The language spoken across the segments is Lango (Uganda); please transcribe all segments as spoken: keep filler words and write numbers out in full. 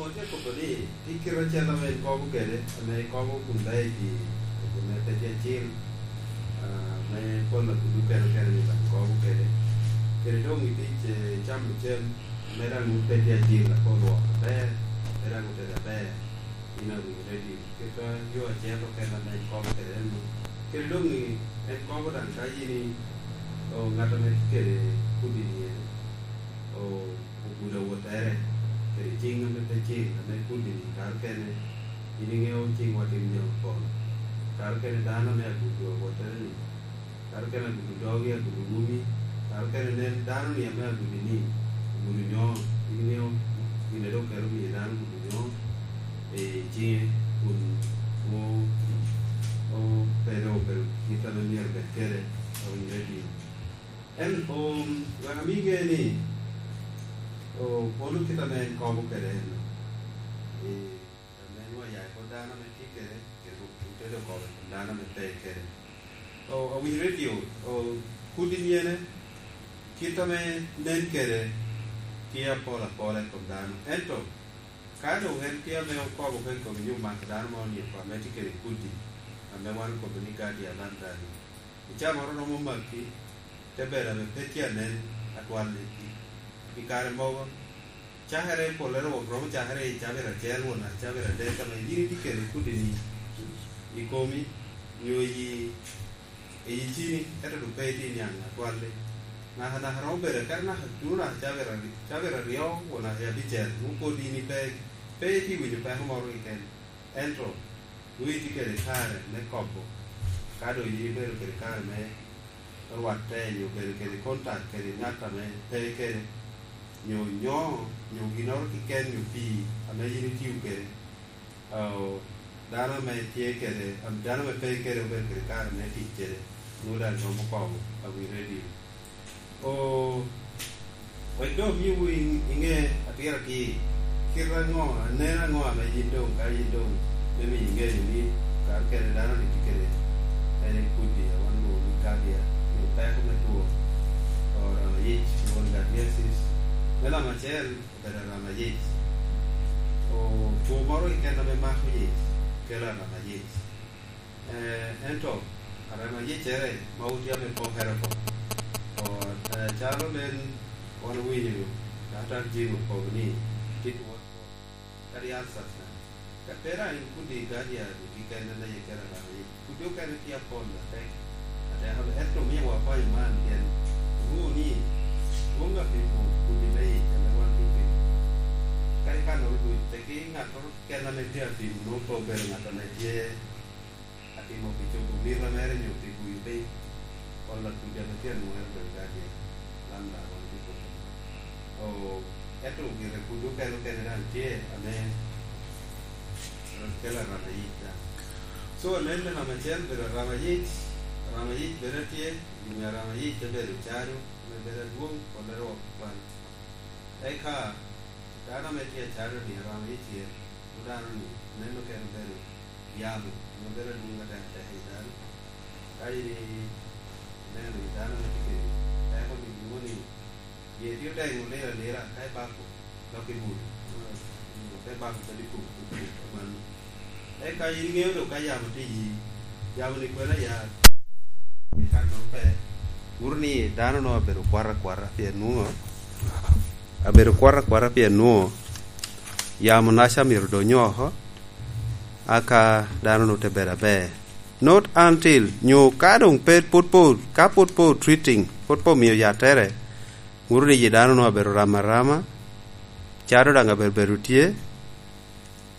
Ote kobo ni, tye kite acel ame en kobo kede, ame kobo kun daŋ i pi, i kun me pet acil, ah, me pol a kudu kene kene ni daŋ kobo kede. Kede doŋ i tic, eh, camo cem, ame daŋ wun pet acil, apol wok aber, ame daŋ otedo aber, in a winy ready. Kit a yo acel okene ame en kobo kede en no. Kede doŋ i, en kobo daŋ ka yin i, o, ŋat ame tye kede kudi ni en, o, ogudo awottere kede ciŋ ame pe cil, ame kudi ni kare kene, yin iŋeo ciŋwa timo jami apol. Kare kene dano ame agudo awottere ni, kare kene agudo dogi, agudo wumi, kare kene nen dano ni ame agudo ni, agudo nyo, yin iŋeo gin a dok kelo miyo dano agudo nyo, i ciŋe kun o, o, pe dok obedo kit ame myero obed kede, a winyere dino. En, um, wek ami ŋe ni, o, kono kit ame en kobo kede en, i, ame nwa ya i kor dano ame tye kede, kede otedo kobo i kom dano ame pe kede. O, awinyo redio, o, kudi nyene, kit ame nen kede, tye apol apola i kom dano. Ento, ka doŋ en tye ame okobo oko i kom yo mako dano mo ni oko ame tye kede kudi, ame wan okobo ni guardian lambda-ni, icamoro romo maki, te bedo ame pe tye anen atwal i, i kare mogo. Cakere pollere wok romo cakere i cabit acel won naka cabit adek, ame yin itye kede kudi-ni i komi, nyo i, i cini, ento doŋ pe itye niaŋ atwal-li. Naka naka romo bedo akete naka tuno naka cabit ari-, cabit aryo won naka i abicel, nwoŋo pwod in ipe, pe itye winyo peko moro keken. Ento, nwoŋo itye kede kare me kobo, ka doŋ in ibedo kede kare me rwatte, nyo bedo kede kontak kede ŋat ame pe kede, nyo nyo, nyo ginnoro keken, nyo pii ame yin itio kede, o, dano ame tye kede, am-, dano ame pe kede obedo kede kare me tic kede, nwoŋo daŋ romo kobo a wi redio. O, wek doŋ miwu i-, iŋe atir atir, kite aŋo, anen aŋo ame yin doŋ, ka yin doŋ me miyo iŋeyo ni kare kene dano ni tye kede en i kudi a wan lwongo ni guardia, nyo peko me two, o, rama yic, lwongo ni guardiasis. Me namba acel, obedo arama yic. O, two moro keken ame mako yic, kelo arama yic. Eh, ento, arama yiccere ma wun tye ame pokere oko. O, eh, calo nen wan owinyo, Daktar Jim okobo ni, tit wot, kadi ulcers na. Ka pe daŋ in kudi guardia keken ame yikere arama yic, kudi okene tye apol atek, atek, ento omio wa kwayo man pien onwoŋo ni dwoŋ apimo kudi me yic ame wan tye pimo. Kadi kannoro duc, teki ŋattoro keken ame tye apimo nwoŋo pe obedo ŋat ame tye atimo pi cobo mito mere nyo pi guyo piny, pol a kudi ame tye anwoŋere obedo guardian, lam daŋ wan tye koko. O, ento gire kudi okene okene daŋ tye ame kelo arama yic daŋ. So, nen me namba acel bedo arama yic, arama yic bene tye, gin arama yic te bedo cado, me bedo adwoŋ, pollere wok kwan. Eka, dano ame tye acalo ni arama yic tye, dano ni, neno kene obedo yamo, ame bedo adwoŋ atek atek i dano. Ka in ineno i dano ame tye kede peko ni nwoŋo ni, ye tye odeŋo liro alira, ka ibako, dok ibuto. Ka ibako kadi kup, kup, kup, aman. Eka in iŋeo dok ka yamo tye i yi, yamo ni kwena ya, i kan dok pe. Wuro ni dano nongo abedo kwata kwata pien nwoŋo, abedo kwata kwata pien nwoŋo yamo naca myero odony oko, aka dano nongo te bedo aber. Not until, nyo ka doŋ pe, pwod po, ka pwod po treating, pwod po miyo yattere, wuro ni yi dano nongo abedo rama rama, cado daŋ abedo bedo tye,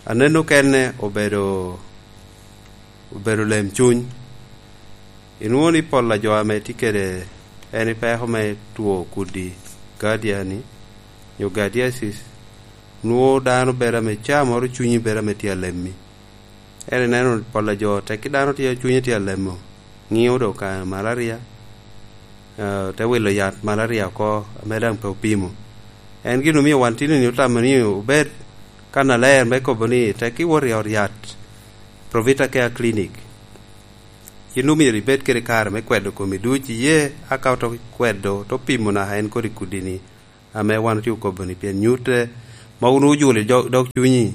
aneno kene obedo, obedo lem cuny. Inwoŋo ni pol a jo ame tye kede en i peko me two kudi, guardian-ni, nyo guardiasis, nwoŋo dano bedo ame caa moro cunyi bedo ame tye alemmi. En ineno pol a jo tekki dano tye cunye tye alemo, ŋio dok ka malaria, eh, te wilo yat malaria oko ame daŋ pe opimo. En gin omio wan tini ni otamo ni obed kannaler me kobo ni tekki wot i ot yat, Provita Care Clinic. Yin omyero ibed kede kare me kwedo komi duc iye, aka oto kwedo, oto pimo naka en kodi kudi-ni, ame wan otye okobo-ni, pien nyutte ma wun ojulo i dog, dog cunyi.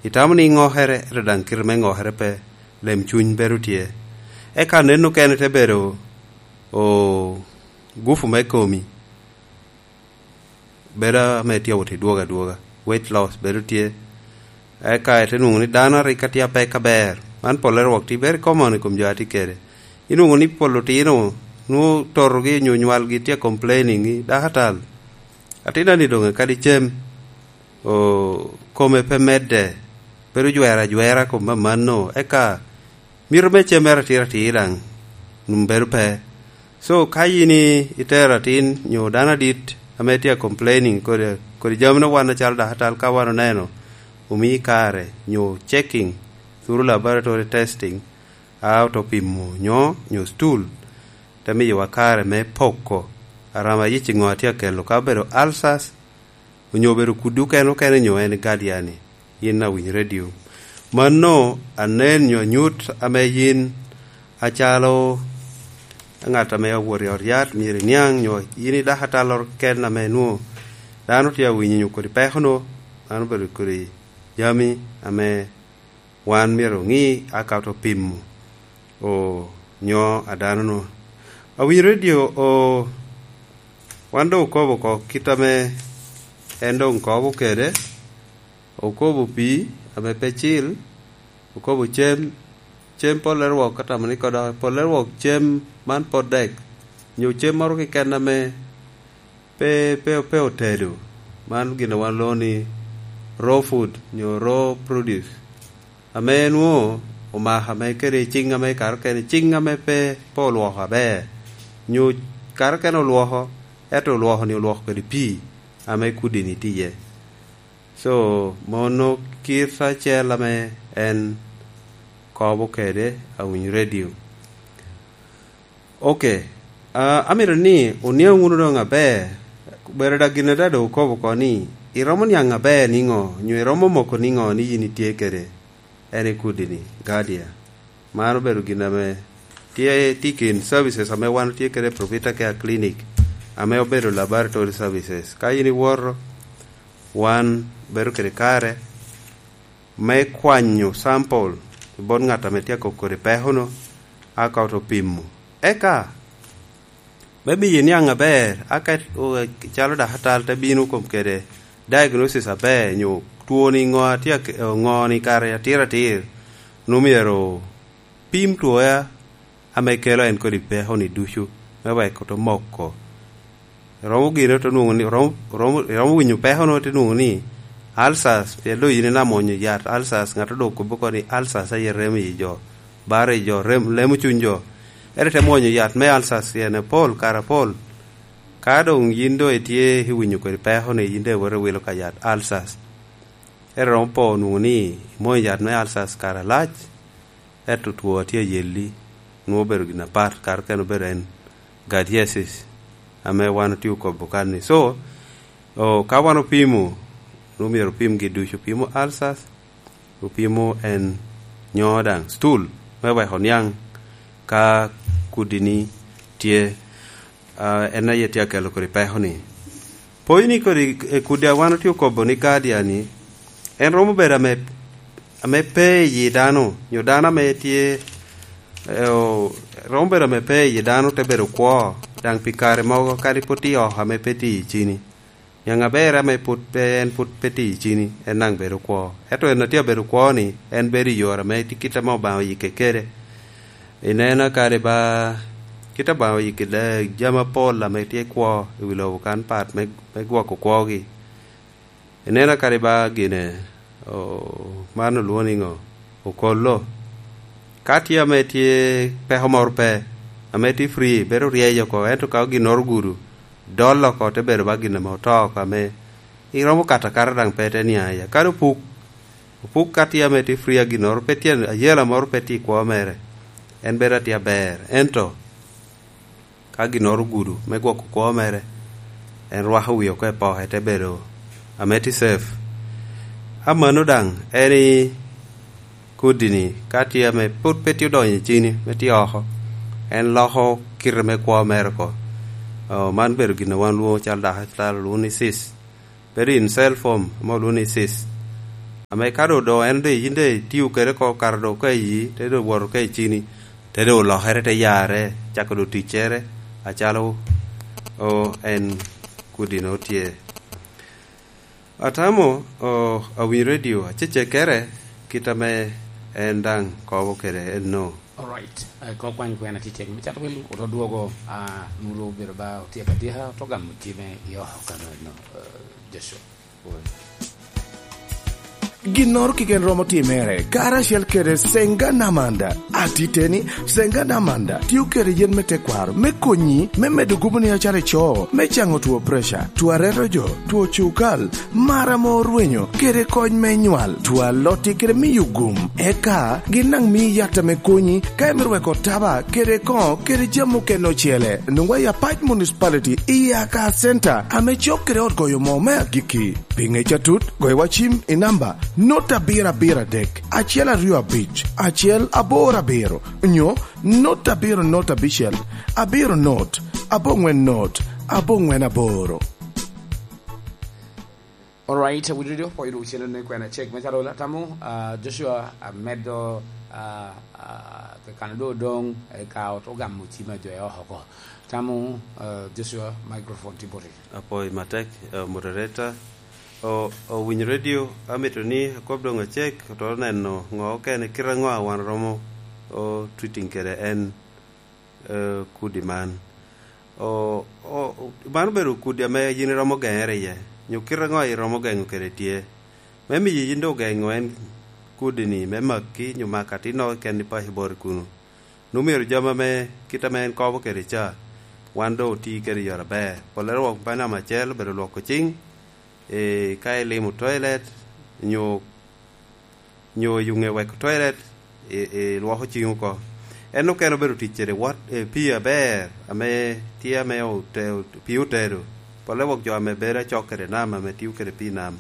Itamo ni iŋokere, ento daŋ kite me ŋokere pe, lem cuny bedo tye. Eka nen okene te bedo, o, gupu me komi. Bedo ame tye awot i dwogo adwoga, weight loss bedo tye. Eka ite nwoŋo ni dano a rik atye apek aber. Man polle rwok tye very common i kom jo a tye kede. Inwoŋo ni pol otino, nwoŋo totogi onyo nywalgi tye complaining ni, "Dakatal, atinna-ni doŋ kadi cem, o, kome pe medde, bedo jwero ajwera kom amanno." Eka mito me cem mere atir atir daŋ, num bedo pe. So, ka yin i-, itero atin nyo dano adit ame tye a complaining kodi, kodi jami no wan acalo dakatal ka wan oneno, omii kare nyo checking through laboratory testing, a oto pimo nyo, nyo stool, te miyowa kare me poko arama yic i ŋo a tye a kelo, ka obedo ulcers, onyo obedo kudi okene okene nyo en guardian-ni, yin awiny redio. Mano anen nyo anyut ame yin acalo ŋat ame owoto i ot yat myero iniaŋ, nyo yin i dakatal ken ame nwo dano tye awinyo nyo kodi peko no, mano obedo kodi jami ame wan myero oŋi aka oto pimo, o, nyo a dano no. Awinyo redio, o, wan doŋ okobo oko kit ame en doŋ kobo kede, okobo pii ame pe cil, okobo cem, cem polle rwok, atamo ni kodo polle rwok cem man pot dek, nyo cem moro keken ame pe, pe, pe otedo. Man gin a wan lwongo ni raw food, nyo raw produce. Ame nwo omako ame kede ciŋ ame kato kene, ciŋ ame pe, pe olwoko aber. Nyo kato kene olwoko, ento olwoko ni olwoko kede pii ame kudi-ni tye iye. So, mono kit acel ame en kobo kede awiny redio. Ok. Ah, amito ni oniaŋ wunu doŋ aber, bedo da gin ada doŋ okobo oko ni, iromo niaŋ aber niŋo, nyo iromo moko niŋo ni yin itye kede en i kudi-ni, guardian. Man obedo gin ame tye, tye i kin services ame wan tye kede i Provita Care Clinic, ame obedo laboratory services. Ka yin iwoto, wan bedo kede kare me kwanyo sample i bot ŋat ame tye akoko kodi peko-nu, aka oto pimo. Eka, me miyi niaŋ aber, aka, o, calo dakatal te bino kom kede diagnosis aber, nyo twoni ŋo a tye ake-, ŋo ni kare atir atir, nwoŋo myero pim twoya ame kelo en kodi peko-ni ducu, me wek oto moko. Romo gire oto nwoŋo ni, romo, romo, romo winyo peko-nu ote nwoŋo ni ulcers, pien doŋ yin inamwonyo yat ulcers, ŋat doŋ okobbi oko ni ulcers aye remo i jo, baro i jo, rem-, lemo cuny jo. Ere te mwonyo yat me ulcers pien apol, kare apol. Ka doŋ yin doŋ itye iwinyo kodi peko-ni, yin doŋ iwoto iwilo ka yat ulcers. Ere romo po nwoŋo ni imwonyo yat me ulcers kare alac, ento two a tye ayelli, nwoŋo obedo gin apat, kare okene obedo en giardiasis, ame wan otye okobo kan-ni. So, o, ka wan opimo, nwoŋo myero opim gi ducu, opimo ulcers, opimo en nyo daŋ stool, me wek oniaŋ ka kudi-ni tye, a, en aye tye akelo kodi peko-ni. Pwony ni kodi, e, kudi a wan otye okobo ni guardian-ni, en romo bedo ame, ame pe i yi dano, nyo dano ame tye, e, o, romo bedo ame pe i yi dano te bedo kwo, daŋ pi kare mogo kadi pwod tye oko ame pe tye i cini. Niaŋ aber ame pwod pe, en pwod pe tye i cini, en daŋ bedo kwo. Ento en a tye abedo kwo-ni, en bedo i yore ame tye kit ame Obaŋa oyikke kede. Ineno kadi ba, kit Obaŋa oyikke da-, jami apol ame tye kwo i wi lobo kan pat me, me gwoko kwogi. Ineno kadi ba gine, o, man olwoŋo ni ŋo? Okolo. Ka tye ame tye peko moro pe, ame tye free, bedo ryeny oko, ento ka ginnoro ogudo, dol oko, te bedo ba gin ame oto oko, ame iromo kato akata daŋ pe te niaŋ iye. Kadi opuk, opuk ka tye ame tye free a ginnoro, pe tye ayela moro pe tye i kwo mere, en bedo atye aber. Ento ka ginnoro ogudo me gwoko kwo mere, en rwako wie oko i poke, te bedo ame tye safe. Amanno daŋ, en i kodi-ni, ka tye ame pwod pe tye odonyo i cini, me tye oko, en loko kite me kwo mere oko. O, man bedo gin a wan lwongo calo dakatal olwongo ni cyst. bedo in cell form ame olwoŋo ni cyst. Ame ka doŋ, doŋ en doŋ yin doŋ itio kede oko, kare doŋ ka iyi, te doŋ woto ka icini, te doŋ olokere, te yarre, cako doŋ ticcere, acalo, o, en kudi-nu tye. Atamo, o, awinyo redio, aceccekere, kit ame en daŋ kobo kede enno. Alright. Eh, kok kwany kwena tye cek. Me cato wel, oto dwogo, ah, nulu obedo ba otyeko atyeka, oto gamo time i oko kano eno, eh, Joshua. Ginnoro keken romo timere, karacel kede Senga Namanda. Atiteni, Senga Namanda tio kede yen me tekwaro me konyi me medo guboni acalo ico, me caŋo two preca, two areto jo, two cukal, mar ame orwenyo, kede kony me nywal, two alotti kede miyo gum. Eka gin daŋ mii yat ame konyi ka imito weko taba kede koŋo kede jami okene ocele. Nwoŋwa i Apac Municipality i Aka Center ame cok kede ot goyo moo me agikki. Pi ŋec atut, goyo wa cim i namba not abiro abiro adek, acel aryo abic, acel aboro abiro, nyo not abiro not abicel, abiro not, aboŋwen not, aboŋwen aboro. Alright, awinyo dok pwoyo dok cene ni kwena cek me calo atamo, ah, Joshua amedo, ah, ah, kakano do odong, eh, ka ot ogamo cim a jo e oko. Tamo, ah, Joshua, microphone tye boti. Apwoyo matek, eh, moderator. O, owinyo redio, amito ni akob doŋ acek, oto neno ŋo okene, kite ŋo a wan romo, o, treating kede en, eh, kudi man. O, o, man obedo kudi ame yin iromo geŋere iye, nyo kite ŋo iromo geŋo kede tye, me miyo yin doŋ ogeŋo en kudi-ni me maki, nyo mako atinno keken i paco boti kunu. Nwoŋo myero jami ame kit ame en kobo kede ca, wan doŋ oti kede i yore aber. Pollere wok me namba acel obedo lwoko ciŋ, eh, ka ilimo toilet, nyo, nyo yuŋe weko toilet, i, ilwoko ciŋ oko. En okene obedo tic kede wot, eh, pii aber, ame tye ame ote-, pii otedo. Pollere wok jo ame bedo acok kede nam, ame tio kede pii nam,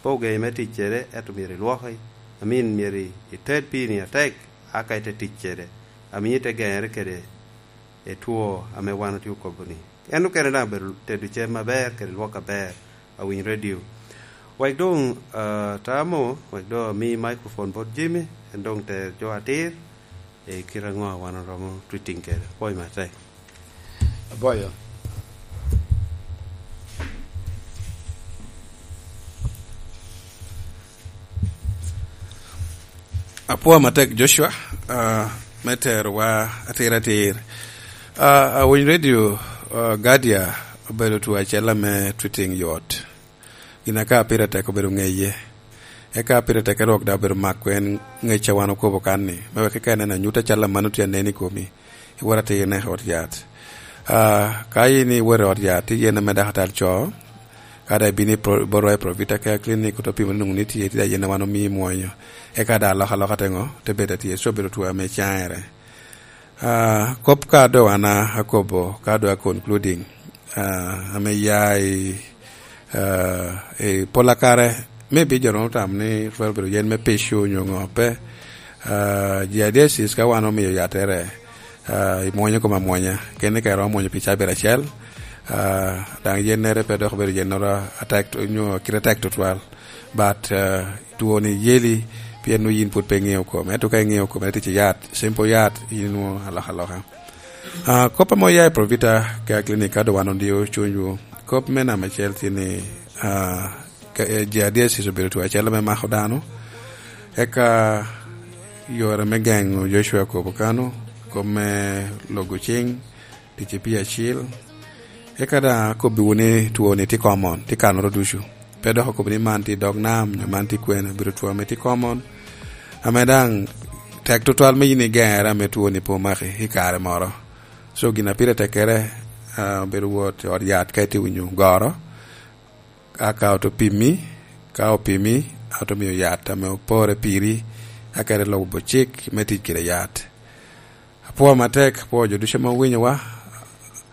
pe ogeŋi me tic kede, ento myero ilwoki. I mean, myero i-, ited pii-ni atek, aka ite tic kede, amiyo ite geŋere kede i two ame wan otye okobo-ni. En okene daŋ obedo tedo cem aber kede lwok aber, awiny redio. Wek doŋ, ah, tamo, wek doŋ ami microphone bot Jimmy, en doŋ ter jo atir, i kite aŋo a wan oromo treating kede. Pwoyo matek. Aboyo. Apwoyo matek, Joshua, ah, me terowa atir atir. Ah, awiny redio, ah, Gadia obedo two acel ame treating yot. Gin aka pire tek obedo ŋeye. Eka pire tek erok daŋ obedo mako en ŋec a wan okobo kan-ni, me wek ka ineno anyut acalo aman otye anen i komi, iwot atir ineko ot yat. Ah, ka in iwot i ot yat, tye yen ame daktar co, ka daŋ ibino i pro-, botwa i Provita Care Clinic, oto pimo ni nwoŋo ni tye, tye daŋ yen a wan omii imwonyo. Eka daŋ alokaloka te ŋo? Te bedo atye, so bedo two ame caŋere. Ah, kop ka doŋ an akobo, ka doŋ a concluding, ah, ame ya i, ah, i pola kare, maybe jo romo tamo ni twero bedo yen me pico onyo ŋo pe. Ah, giardiasis ka wan omio yattere, ah, imwonyo kome amwonya, keni ka iromo mwonyo pi cabit acel, ah, daŋ yennere pe dok obedo yennoro atek, onyo kite tek tutwal. But, ah, two-ni yeli, pien nwoŋo yin pwod pe iŋeo kome. Ento ka iŋeo kome, tic i yat, simple yat, yin nwoŋo alokaloka. Ah, kop ame oya i Provita Care Clinic, ka doŋ wan ondio cunywu, kop me namba acel tye ni, ah, ka, eh, giardiasis obedo two acel ame mako dano. Eka yore me geŋo Joshua okobo kano, kop me logo ciŋ, tic i pii acil. Eka daŋ akobbiwu ni two-ni tye common, tye kanoro ducu. Pe dok akobo ni man tye i dog nam, nyo man tye kwene, obedo two ame tye common. Ame daŋ tek tutwal me yin igeŋere ame two-ni pe omaki i kare moro. So, gin a pire tekkere, ah, obedo wot i ot yat ka itye winyo goro. Aka oto pimi, ka opimi, ato miyo yat ame opore piri, aka ite lubo cik me tic kede yat. Apwoo matek, apwoo jo ducu ame owinyowa.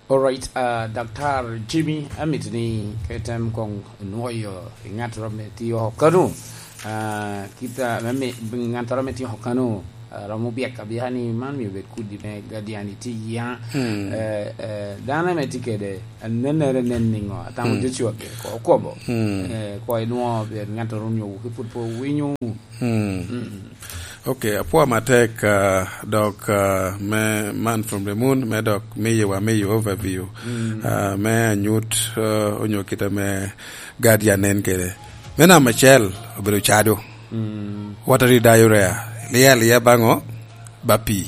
Alright, ah, Daktar Jimmy, amito ni ka item koŋ inwoyo i ŋattoro ame tye oko kano, ah, kit, ah, me mi-, ŋattoro ame tye oko kano, Romo byek abika ni man myero bed kudi me Guardian itye i yia. Mm. Eh, eh, dano ame tye kede, anennere nen niŋo? Atamo Mm. Joshua gire ko okobo. Mm. Eh, ko inwoŋo ber ŋattoro onyo ki pud pe owinyo. Mm. Mm. Ok, apwoyo matek, ah, dok, ah, me man from the moon, me dok miyowa, miyo overview. Mm. Ah, me anyut, ah, onyo kite me Guardian nen kede. Me namba acel, obedo cado. Mm. Water diarrhea, liel liel baŋo, ba pii.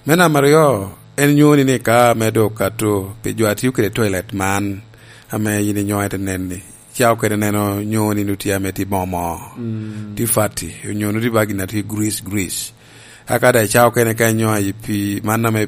Me namba aryo, en nyoni ni ka me dok kato, pi jo a tio kede toilet man, ame yin inyoŋo ite nen ni, ca okene neno nyoni nu tye ame tye bomo, Mm. tye fatty, onyo nu tye bagi na tye grease, grease. Aka da ca okene ka inyoŋo i pii, man ame